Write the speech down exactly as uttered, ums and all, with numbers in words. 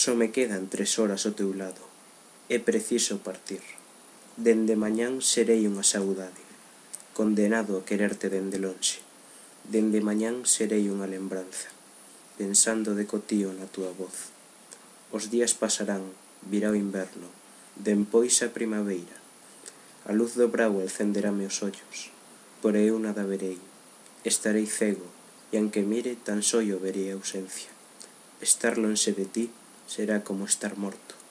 Só me quedan tres horas ao teu lado. É preciso partir. Dende mañán serei unha saudade, condenado a quererte dende lonxe. Dende mañán serei unha lembranza, pensando de cotío na túa voz. Os días pasarán, virá o inverno, dempois a primavera. A luz do brao encenderame os ollos, pero eu nada verei. Estarei cego, e anque mire tan só yo verei a ausencia. Estar lonxe de ti será como estar morto.